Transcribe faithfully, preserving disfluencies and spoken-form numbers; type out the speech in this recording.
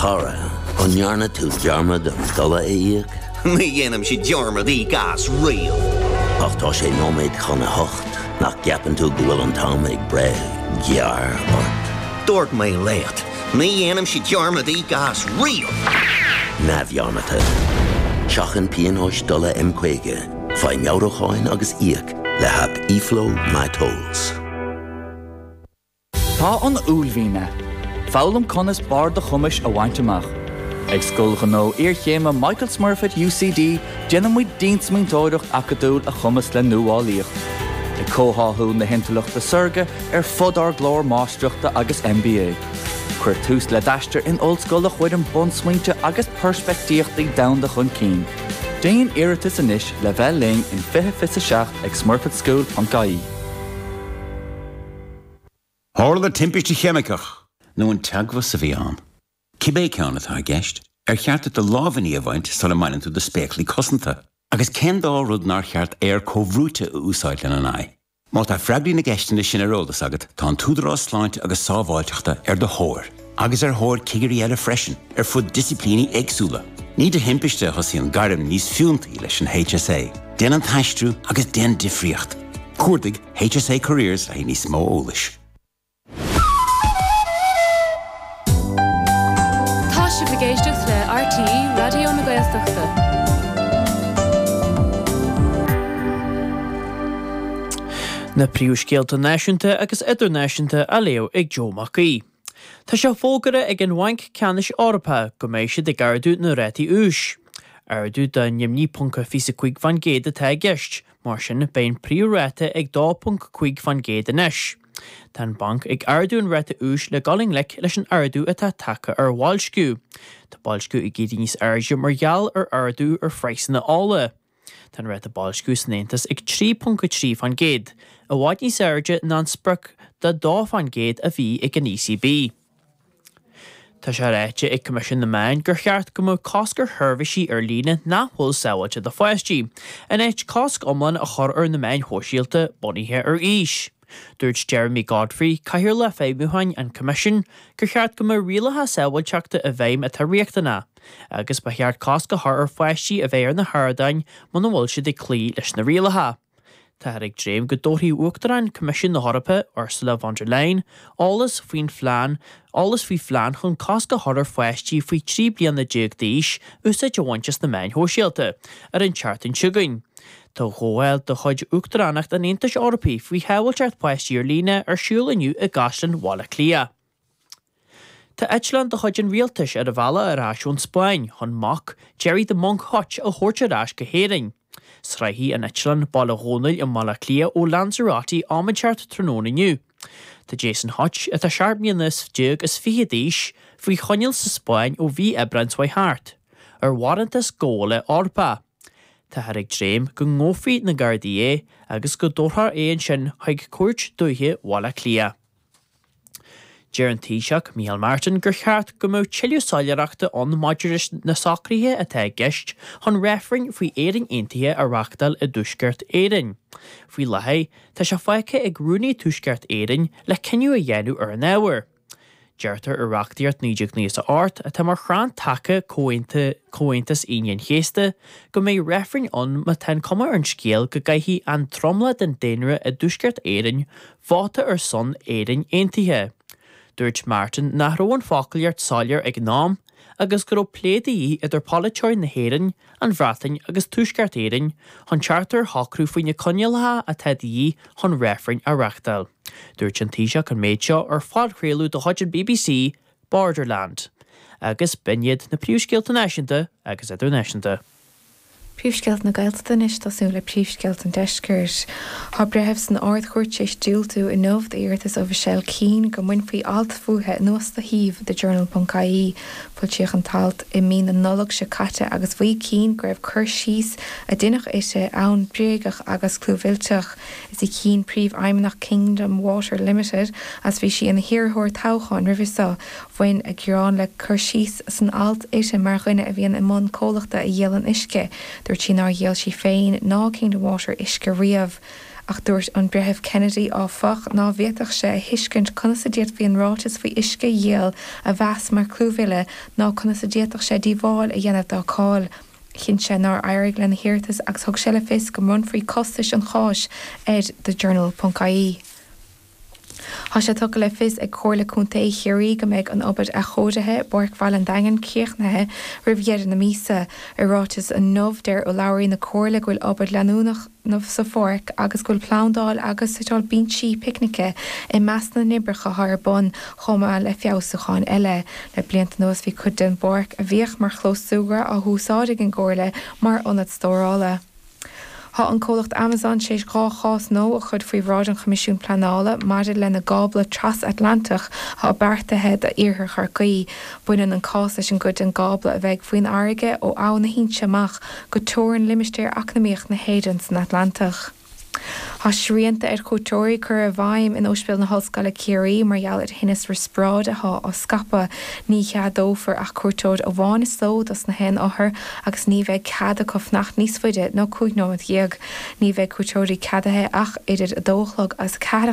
Chara, an ndearna tú dearmad an dola a íoc? Ní dhéanaimse dearmad íoc as riamh. Ach tá sé nóiméad chun a hocht nach gceapann tú go bhfuil an t-am ag breith gearr ort. Dúirt mé leat, ní dhéanaimse dearmad íoc as riamh. Neamhdhearmadta. Seachain pionóis dola M caoga, faigh meabhrúcháin agus íoc le haip eFlow MyTolls. Tá an uaillmhian ann. Foghlaim conas barr do chumais a bhaint amach. Ag Scoil Ghnó Iarchéime Michael Smurfit UCD déanaimid diansmaointeoireacht acadúil a chumasc le nuálaíocht. Ag comhtháthú na hintleachta saorga ar fud ár gclár máistreachta agus MBA. Cuir tús le d'aistear in ollscoil a chuireann bunsmaointe agus peirspictíochtaí domhanda chun cinn. Déan iarratas anois le bheith linn in fiche fiche seacht ag smurfitschool.ie. Tharla timpiste cheimiceach nó an teagmhas a bhí ann. Cibé ceann atá i gceist, ar cheart do lámhainní a bhaint sula mbaineann tú do spéaclaí cosanta, agus cén dá rud nár cheart aer comhbhrúite a úsáid lena n-aghaidh. Má tá freagraí na gceisteanna sin ar eolas agat, tá an tÚdarás Sláinte agus Sábháilteachta ar do thóir, agus ar thóir cigirí eile freisin, ar fud disciplíní éagsúla. Ní de thimpiste a thosaíonn gairm níos fiúntaí leis an HSA. Déan an t-aistriú agus déan difríocht. Cuardaigh HSA Careers le níos mó eolais. Tá sibh ag éisteacht le RTÉ Raidió na Gaeltachta. Na príomhscéalta náisiúnta agus idirnáisiúnta á léamh ag Joe Mac Aoidh. Tá sé fógartha ag an Bhanc Ceannais Eorpach go mbeidh siad ag ardú na rátaí úis. Ardú de naoi ponc fiche cúig faoin gcéad atá i gceist, mar sin beidh an príomhráta ag dó ponc cúig faoin gcéad anois. Tá an banc ag ardú an ráta úis le dul i ngleic leis an ardú atá tagtha ar bhoilsciú. Tá boilsciú ag éirí níos airde mar gheall ar ardú ar phraghsanna ola. Tá an ráta boilsciú san Aontas ag trí ponc a trí faoin gcéad, i bhfad níos airde ná an sprioc de dó faoin gcéad a bhí ag an ECB. Tá sé ráite ag Coimisiún na Meán gur cheart go mbeadh cosc ar sheirbhísí ar líne nach bhfuil sábháilte do pháistí, in áit cosc iomlán a chur ar na meáin shóisialta bunaithe ar aois. Dúirt Jeremy Godfrey, Cathaoirleach Feidhmiúcháin an Choimisiúin, gur cheart go mbeadh rialacha sábháilteachta i bhfeidhm atá riachtanach, agus ba cheart cosc a chur ar pháistí a bheith ar na hardáin muna bhfuil siad ag cloí leis na rialacha. Táthar ag dréim go dtabharfaidh Uachtarán Coimisiún na hEorpa, Ursula von der Leyen, eolas faoin phlean eolas faoi phlean chun cosc a chur ar pháistí faoi trí bliana déag d'aois úsáid a bhaint as na meáin shóisialta ar an tseachtain seo chugainn. Tá comhdháil de chuid Uachtaránacht an Aontais Eorpaigh faoi shábháilteacht páistí ar líne ar siúl inniu i gCaisleán Bhaile Átha Cliath. Tá eitleán de chuid an rialtais ar a bhealach ar ais ón Spáinn chun mac Gerry the Monk Hutch a thabhairt ar ais go hÉirinn. Sroichfidh an eitleán Baile Dhónaill i mBaile Átha Cliath ó Lanzarote am inteacht tráthnóna inniu. Tá Jason Hutch, atá seacht mbliana déag is fiche d'aois, faoi choinneáil sa Spáinn ó mhí Aibreáin seo thart, ar bharántas gabhála Eorpach. Táthar ag dréim go ngabhfaidh na Gardaí é agus go dtabharfar é ansin chuig Cúirt Dúiche Bhaile Átha Cliath. Deir an Taoiseach Micheál Martin gur cheart go mbeadh tuilleadh soiléireachta ann maidir leis na socruithe atá i gceist chun reifreann faoi Éirinn Aontaithe a reáchtáil i dTuaisceart Éireann. Faoi láthair, tá sé fágtha ag Rúnaí Tuaisceart Éireann le cinneadh a dhéanamh ar an ábhar. Deirtear i reachtaíocht naoi déag nócha a hocht, atá mar chrann taca Chomhaontas Aoine an Chéasta, go mbeidh reifreann ann má tá an cuma ar an scéal go gcaithfidh an tromlach den daonra i dTuaisceart Éireann vóta ar son Éirinn Aontaithe. Dúirt Martin nach raibh an foclaíocht soiléir ag an am agus go raibh plé de dhíth idir polaiteoirí na hÉireann, an Bhreatain agus Tuaisceart Éireann chun teacht ar shocrú faoi na coinníollacha atá de dhíth chun reifreann a reáchtáil. Dúirt an Taoiseach an méid seo ar phodchraoladh de chuid an BBC, Borderland. Agus b'in iad na príomhscéalta náisiúnta agus idirnáisiúnta. Príomhscéalta na Gaeltachta anois, tosú le príomhscéalta an Deiscirt. Tá breitheamh san Ard-Chúirt tar éis diúltú inniu d'iarratas ó Mhichelle Keane go mbainfí alt fúithi anuas de shuíomh The Journal.ie. Foilsíodh an t-alt i mí na Nollag seo caite agus mhaígh Keane go raibh cur síos a deineadh uirthi ann bréagach agus clúmhillteach. Is í Keane príomhfheidhmeannach Kingdom Water Limited agus bhí sí ina hiarrthóir toghcháin roimhe seo. Bhain a gearán le cur síos san alt uirthi mar dhuine a bhíonn i mbun comhlachta a dhíolann uisce. Dúirt sí nár dhíol sí féin ná Kingdom Water uisce riamh. Ach dúirt an Breitheamh Kennedy áfach ná bhféadfadh sé a thuiscint conas a d'fhéadfaí an ráiteas faoi uisce a dhíol a mheas mar clúmhilleadh ná conas a d'fhéadfadh sé díobháil a dhéanamh dá cáil. Chinn sé nár éirigh lena hiarratas agus thug sé le fios go mbronnfaí costais an cháis ar TheJournal.ie. Tá sé tugtha le fios ag Comhairle Contae Chiarraí go mbeidh an obair athchóirithe i bPáirc Bhaile an Daingin críochnaithe roimh dheireadh na míosa. I ráiteas inniu deir urlabhraí na Comhairle go bhfuil obair leanúnach sa pháirc agus go bhfuil plandáil agus suiteáil binsí picnice i measc na n-oibreacha atá ar bun chomh maith le feabhsúcháin eile. Le blianta anuas bhí cuid den bpáirc a bhíodh mar chlós súgartha á húsáid ag an gComhairle mar ionad stórála. Tá an comhlacht Amazon tar éis dhá chás nua a chur faoi bhráid an Choimisiúin Pleanála maidir lena gcábla trasatlantaigh atá beartaithe d'iarthar Chorcaí. Baineann an cás leis an gcuid den gcábla a bheidh faoin fharraige ó Abhainn na hInse amach go teorainn limistéar eacnamaíoch na hÉireann san Atlantach. Tá srianta ar chuairteoirí curtha i bhfeidhm in Ospidéal na hOllscoile Ciarraí mar gheall ar thinneas riospráide atá á scaipeadh. Ní cheadófar ach cuairteoir amháin sa ló dos na haon othar agus ní bheidh cead acu fanacht níos faide ná cúig nóiméad dhéag. Ní bheidh cuairteoirí ceadaithe ach idir a dó a chlog agus a ceathair